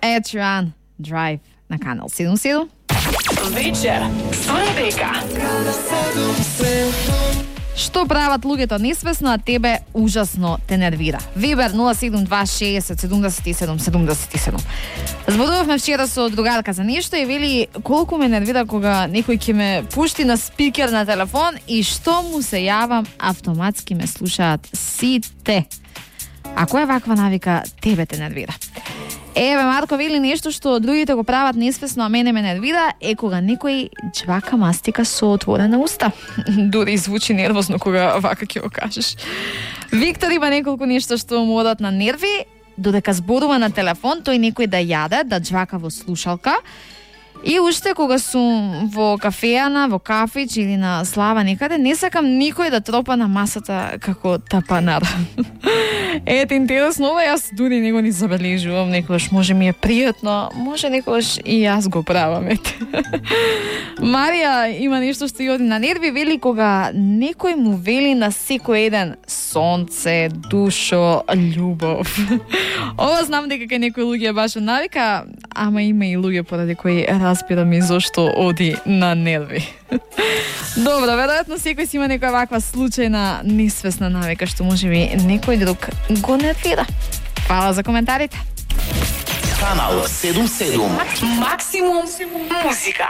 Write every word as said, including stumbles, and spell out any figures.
Ed Sheeran, Drive на Канал седум седум. Вечер со Ребека. Што прават луѓето несвесно, а тебе ужасно те нервира? Вибер нула седум два шеесет седумдесет и седум седумдесет и седум. Зборувавме вчера со другарка за нешто и вели колку ме нервира кога некој ќе ме пушти на спикер на телефон и што му се јавам, автоматски ме слушаат сите. Ако е ваква навика, тебе те нервира. Еве, Марко вели нешто што другите го прават несвесно, а мене ме нервира, е кога некој джвака мастика со отворена уста. Дури звучи нервозно кога вака ќе го кажеш. Виктор има неколку нешто што му одат на нерви, додека зборува на телефон, тој некој да јаде, да джвака во слушалка. И уште кога сум во кафејана, во кафич или на слава некаде, не сакам никој да тропа на масата како тапанар. Ете, интересно, ова јас дури не го ни забележувам, некогаш може ми е пријатно, може некогаш и јас го правам, ете. Марија има нешто што ја оди на нерви, вели кога некој му вели на секој еден сонце, душо, љубов. Ова знам дека кај некои луѓе баш навика, ама има и луѓе поради кои разбирам и зошто оди на нерви. Добро, веројатно секој си има некоја ваква случајна несвесна навика што можеби некој друг го нервира. Фала за коментарите. Канал седум седум. Максимум музика.